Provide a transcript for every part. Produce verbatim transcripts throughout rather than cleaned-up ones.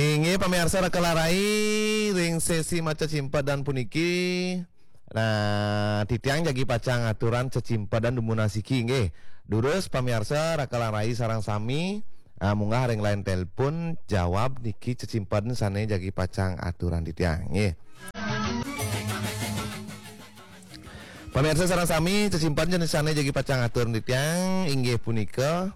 Inggih pamiarsa Raka lan Rai, ring sesi macecimpedan puniki. Nah, titiang jagi pacang aturan cecimpedan dumun asiki nggih. Durus pamiarsa Raka lan Rai sareng sami, ah, munggah ring line telepon jawab niki cecimpedan sane jagi pacang aturan titiang nggih. Pamiarsa sareng sami, cecimpedan sane jagi pacang aturan titiang inggih punika,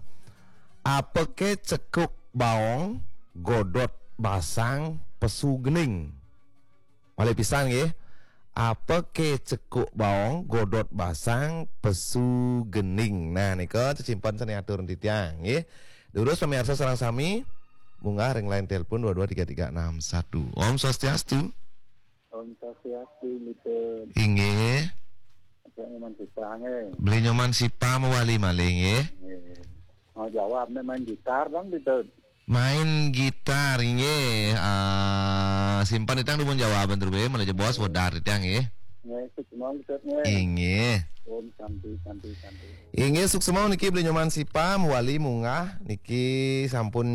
apake cekuk baong godot basang pesu gening. Malih pisan nggih. Apake cekuk baong godot basang pesu gening. Nah, nika cecimpedan sane aturan titiang nggih. Durus pamiarsa sareng sami, munggah ring line telepon dua dua tiga tiga enam satu. Om Swastiastu. Om Swastiastu, Miten. Inggih. Saya Nyoman Sipa, nggih. Beli Nyoman Sipa mawali malih nggih. Nggih. Mau jawab nih, main gitar dong, Miten. Main gitar nggih. Ah, simpen titiang dumun jawaban terus malih jebos wedar titiang nggih. Nggih, suksma, Miten, nggih. Inggih. Om Santi, Santi, Santi. Inggih, suksma niki Beli Nyoman Sipa mawali munggah niki sampun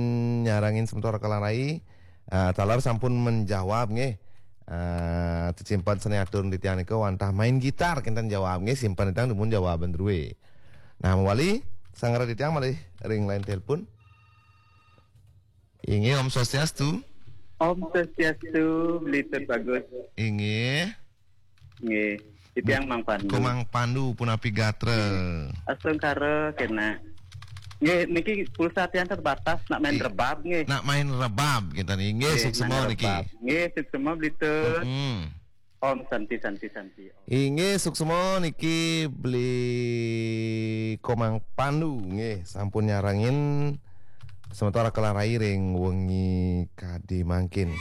nyarengin semeton Raka lan Rai. Ah, taler sampun menjawab nggih. Ah, cecimpedan sane aturan titiang nika wantah main gitar kinten jawab nggih, simpen titiang dumun jawaban drue. Nah, mawali sanggra titiang malih ring line telepon. Inggih, Om Swastiastu. Om Swastiastu, Beli Tut Bagus. Inggih. Nggih, titiang Mang Pandu. Ko Mang Pandu punapi gatra? Astungkara kena. Nggih, niki pulsa tiang terbatas, nak main I- rebab nggih. Nak main rebab kita nih. Nggih, nggih, suksma niki. Nggih, suksma Beli Tut. Hmm. Om Santi, Santi, Santi. Inggih, suksma niki Beli Komang Pandu nggih sampun nyarengin semeton Raka lan Rai ring wengi kadi mangkin.